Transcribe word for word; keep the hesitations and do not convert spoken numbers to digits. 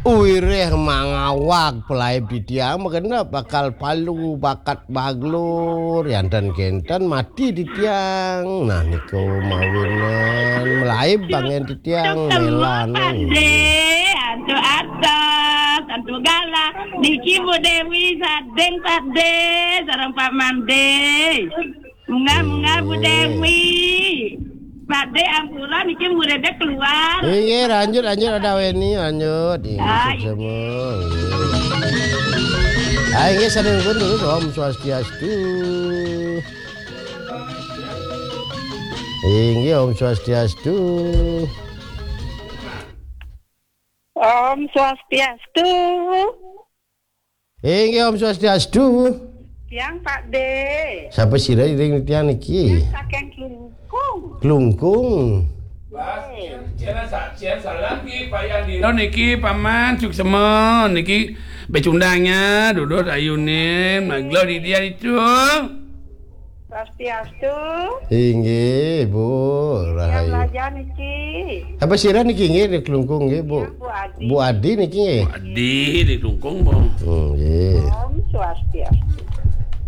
Wireh mangawag pelaib titiang, magenep bakal palu bakat baglur, yanten kenten mati titiang. Nah, niku mawinan melaib angen titiang. Tuk teluk, melan. Pakde, antuk atas, antuk galah. Niki Bu Dewi Sading, Pakde, sareng Pak Mande. Munggah, munggah, Bu Dewi. Pakde, ampura, niki muridnya keluar. Inggih, lanjut, lanjut, ada Weni, lanjut. Inggih, ah, suksema. Inggih. Ah, inggih, sadaya pun terus, Om Swastiastu. Inggih, Om Swastiastu. Om Swastiastu. Inggih, Om Swastiastu. Tiang, Pakde. Sapa sira ring tiang niki? Tiang saking Klungkung. Klungkung. Pas, cen, cen sa-, cen salam ki, Pak Yandino niki, Paman, suksema niki, becundangnya, duduk ayunin, maglo di dia itu. Swastiastu. Inggih, Bu Rahayu. Belajar niki. Apa sira niki nggih di Klungkung nggih, Bu? Ya, Bu Adi. Bu Adi niki nggih. Bu Adi di Klungkung, Bu. Hmm, nggih. Om Swastiastu.